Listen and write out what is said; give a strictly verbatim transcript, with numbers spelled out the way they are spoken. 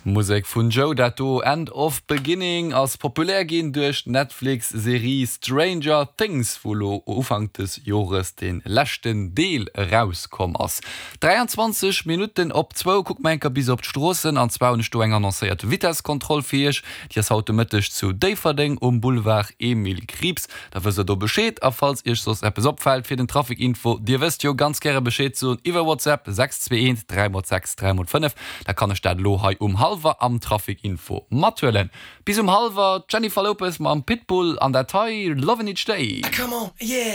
Musek vun Joe dat do End of Beginning ass populär ginn duerch d'Netflix-Serie Stranger Things, wou lo Ufank des Jores de leschten Deel erauskomm ass. dräianzwanzeg Minutten op zwou, kucke mer eng Kéier bis op d'Stroossen an zwar hunn ech do eng annoncéiert Vitesskontroll fir iech, déi ass haut de Mëtteg zu Déifferdeng um Boulevard Emile Krieps. Da wësst der do Bescheed a falls iech soss eppes opfält fir den Trafic Info, dir wësst jo, ganz gäre Bescheed soen iwwer WhatsApp sechs zwee eent dräi mol sechs dräi mol fënnef, da kann ech dat elo hei um hallwer am Trafic Info mathuelen. Bis um hallwer d'Jennifer Lopez mam Pitbull an dat hei Lovin' Each Day. Come on, yeah.